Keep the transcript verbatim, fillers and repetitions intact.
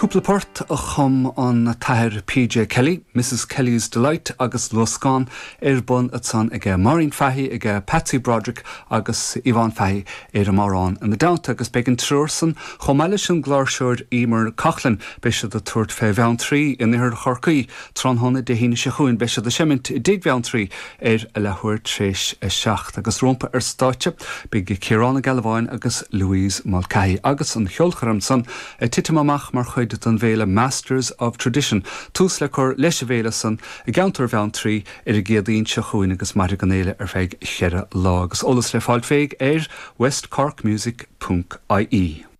Cúpla port a chum an tAthair PJ Kelly, Mrs Kelly's Delight agus Luascán ar bun ansan aige Maureen Fahy aige Patsy Broderick agus Yvonne Fahy ar an mbodhrán ina dteannta agus beidh an triúr san chomh maith leis an gcláirseoir Emer Coughlin beidh siad ag tabhairt fé Bheanntraí in oirthear Chorcaí tráthnóna Dé hAoine seo chugainn beidh siad ag seimint i dTigh Bheanntraí ar a leathuair tar éis a seacht agus rompu ar stáitse beidh Ciarán Ó Gealbháin agus Louise Mulcahy agus an cheolchoirm san ag titim amach mar chuid den bhféile Masters of Tradition. Tús le cur leis an bhféile san i gceantar Bheanntraí ar an gCéadaoin seo chugainn agus mairfidh an fhéile ar feadh cheithre lá agus eolas le fáil féig ar westcorkmusic.ie.